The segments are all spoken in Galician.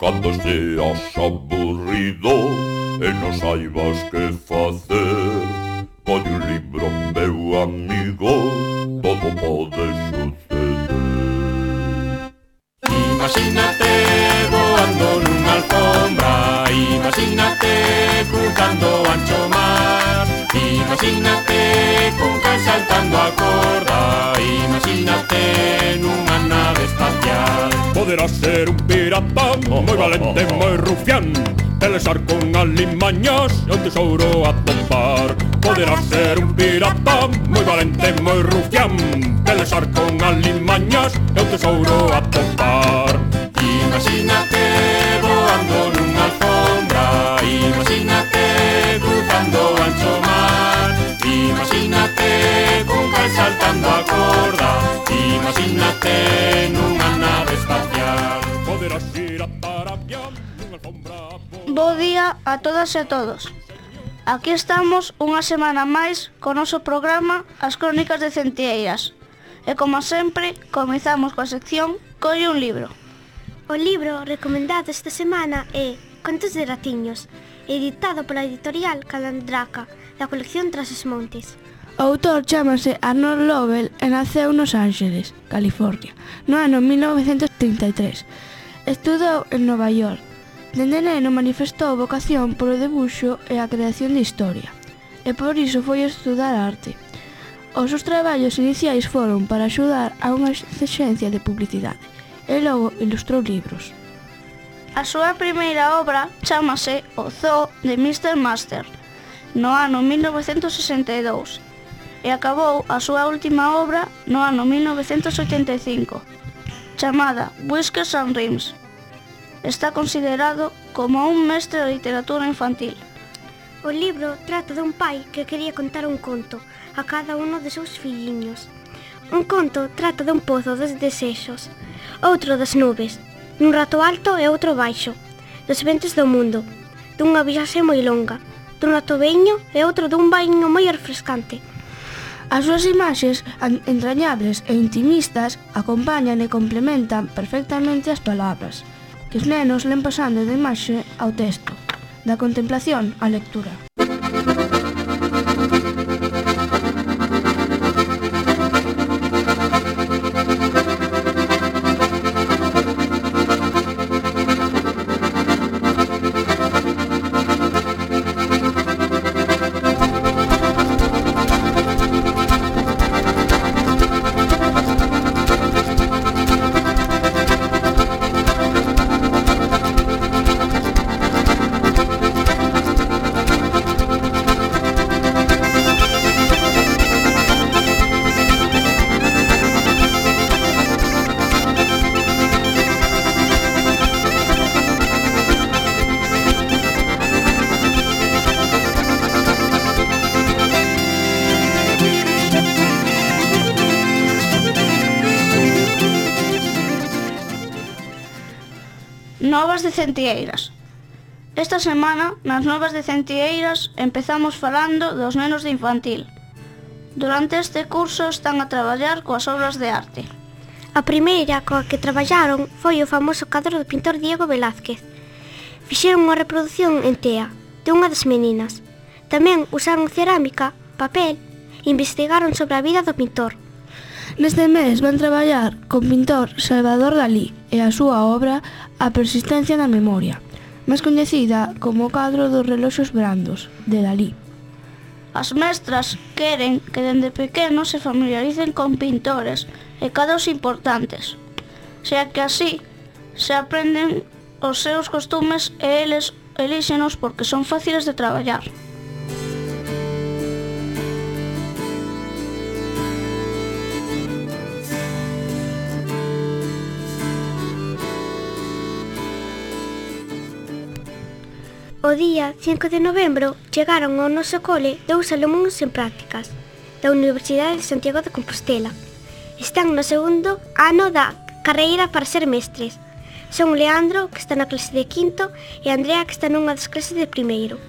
Cando seas aburrido e non saibas que facer, colle un libro, meu amigo, todo pode suceder. Imagínate voando nunha alfombra, imagínate cruzando o ancho mar, imagínate con can saltando a corda, imagínate nunha nave espacial. Poderás ser un pirata moi valente, moi rufián, pelexar con alimañas e un tesouro a topar. Poderás ser un pirata moi valente, moi rufián, pelexar con alimañas e un tesouro a topar. Imagínate voando nunha alfombra, imagínate cruzando o ancho mar, imagínate con can saltando a corda, imagínate nunha nave espacial. Poderás ir a Arabia nunha alfombra. Bo día a todas e a todos. Aquí estamos unha semana máis co noso programa As Crónicas de Centeiras. E como sempre, comezamos coa sección Colle un libro. O libro recomendado esta semana é Contos de ratiños, editado pola editorial Calandraca, da colección Tras os Montes. O autor chámase Arnold Lovell e naceu nos Ángeles, California, no ano 1933. Estudou en Nova York. Dende neno manifestou vocación polo debuxo e a creación de historia, e por iso foi estudar arte. Os seus traballos iniciais foron para axudar a unha axencia de publicidade, e logo ilustrou libros. A súa primeira obra chámase O Zoo de Mr. Master, no ano 1962, e acabou a súa última obra no ano 1985, chamada Whiskers and Rims. Está considerado como un mestre da literatura infantil. O libro trata dun pai que quería contar un conto a cada uno de seus filliños. Un conto trata dun pozo dos desexos, outro das nubes, dun rato alto e outro baixo, dos ventos do mundo, dunha viaxe moi longa, dun rato veño e outro dun baño moi refrescante. As súas imaxes entrañables e intimistas acompañan e complementan perfectamente as palabras, que os nenos len pasando da imaxe ao texto, da contemplación á lectura. Novas de Centeiras. Esta semana, nas Novas de Centeiras, empezamos falando dos nenos de infantil. Durante este curso están a traballar coas obras de arte. A primeira coa que traballaron foi o famoso cadro do pintor Diego Velázquez. Fixeron unha reproducción en tea de unha das meninas. Tamén usaron cerámica, papel e investigaron sobre a vida do pintor. Neste mes van traballar con pintor Salvador Dalí e a súa obra A persistencia da memoria, máis coñecida como o cadro dos reloxos brandos, de Dalí. As mestras queren que dende pequenos se familiaricen con pintores e cadros importantes, xa que así se aprenden os seus costumes e eles elíxenos porque son fáciles de traballar. O día 5 de novembro chegaron ao noso cole dous alumnos en prácticas da Universidade de Santiago de Compostela. Están no segundo ano da carreira para ser mestres. Son Leandro, que está na clase de quinto, e Andrea, que está nunha das clases de primeiro.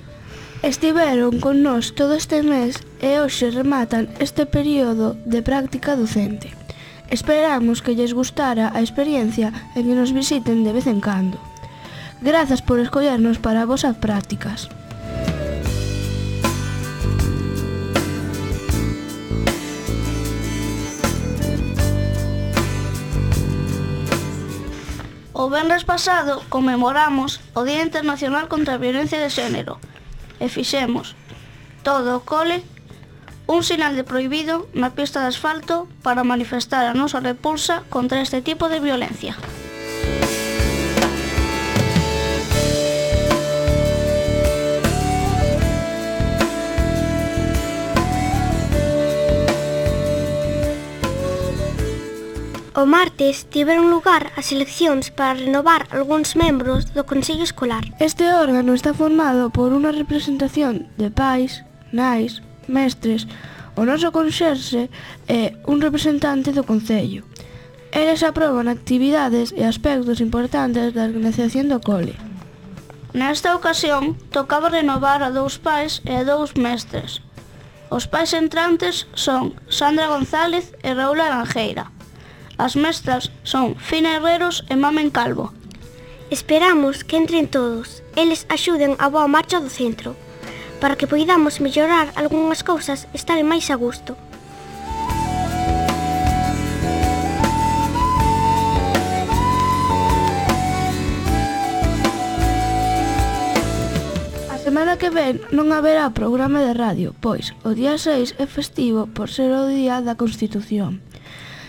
Estiveron con nós todo este mes e hoxe rematan este período de práctica docente. Esperamos que lles gustara a experiencia e que nos visiten de vez en cando. Grazas por escollernos para as vosas prácticas. O venres pasado conmemoramos o Día Internacional contra a Violencia de Xénero e fixemos todo o cole un sinal de prohibido na pista de asfalto para manifestar a nosa repulsa contra este tipo de violencia. O martes tiveron lugar as eleccións para renovar algúns membros do Consello Escolar. Este órgano está formado por unha representación de pais, nais, mestres, o noso conxerxe e un representante do Concello. Eles aproban actividades e aspectos importantes da organización do cole. Nesta ocasión, tocaba renovar a 2 pais e a 2 mestres. Os pais entrantes son Sandra González e Raúl Aranjeira. As mestras son Fina Herreros e Mamen Calvo. Esperamos que entren todos, eles axuden a boa marcha do centro, para que poidamos mellorar algunhas cousas e estar máis a gusto. A semana que ven non haberá programa de radio, pois o día 6 é festivo por ser o día da Constitución.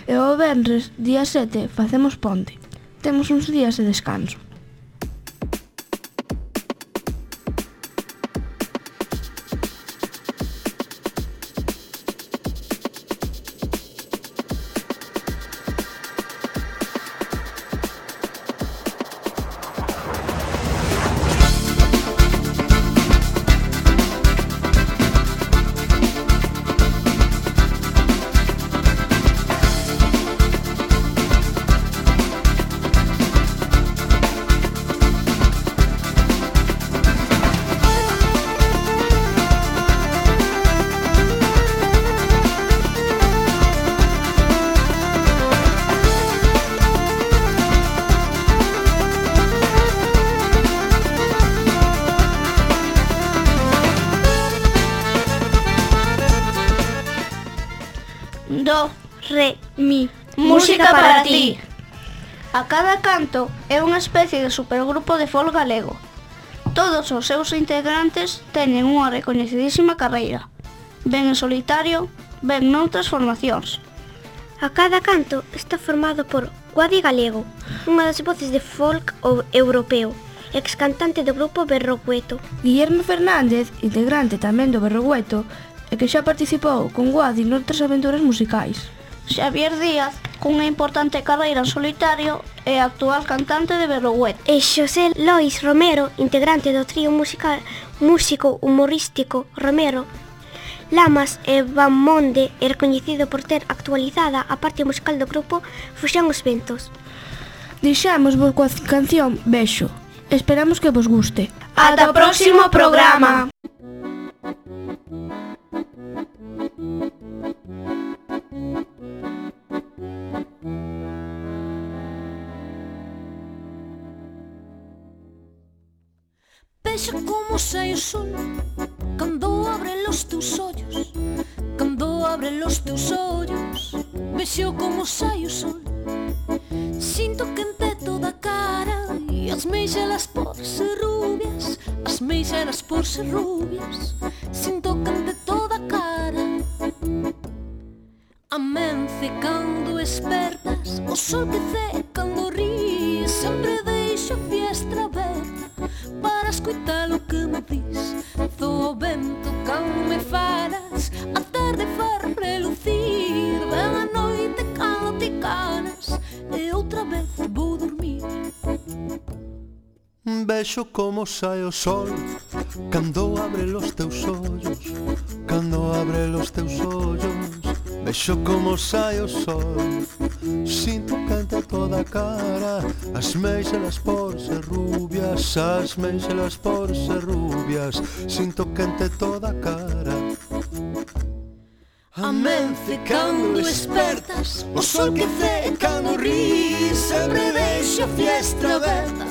E o venres, día 7, facemos ponte. Temos uns días de descanso. Do, Re, mi. música para ti. A cada canto é unha especie de supergrupo de folk galego. Todos os seus integrantes teñen unha recoñecidísima carreira, ben en solitario, ben noutras formacións. A cada canto está formado por Guadi Galego, unha das voces de folk europeo, ex cantante do grupo Berrogueto. Guillermo Fernández, integrante tamén do Berrogueto, e que xa participou con Guadi noutras aventuras musicais. Xavier Díaz, cunha importante carreira en solitario, é actual cantante de Berrogueto. E Xosé Lois Romero, integrante do trío músico humorístico Romero Lamas e Bamonde, é recoñecido por ter actualizada a parte musical do grupo Fuxan os Ventos. Deixamos vos coa canción Bexo. Esperamos que vos guste. Ata o próximo programa. Vexa como sai o sol cando abre los teus ollos, cando abre los teus ollos. Vexo como sai o sol, sinto quente toda a cara e as meixelas por ser rubias, as meixelas por ser rubias. Sinto quente toda a cara. Amence cando espertas, o sol que ce cando ríes. Sempre deixo a fiestra aberta para escutar o que me dis. Zo o vento cando me falas, a tarde far relucir. Ven a noite cando te canas e outra vez vou dormir. Vexo como sai o sol cando abre los teus ollos, cando abre los teus ollos. Vexo como sai o sol, sinto quente toda a cara, as meixelas por ser rubias, as meixelas por ser rubias. Sinto quente toda a cara. Amence cando espertas, o sol que ce cando ríes. Sempre deixo a fiestra aberta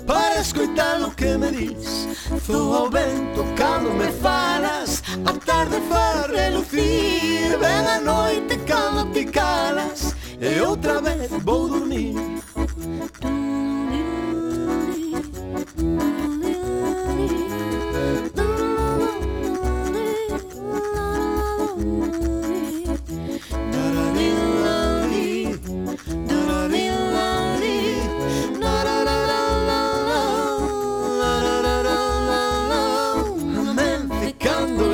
para escoitar o que me dis. Zoo ao vento cando me falas, a tarde fa relucir. Ven a noite cando te calas, e outra vez vou dormir.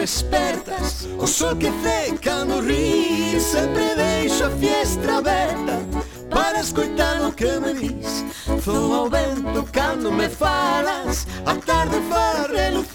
Despertas, o sol que fe cando rir. Sempre deixo a fiestra aberta para escoitar o que me dis. Zoo ao vento cando me falas, a tarde fa relucir.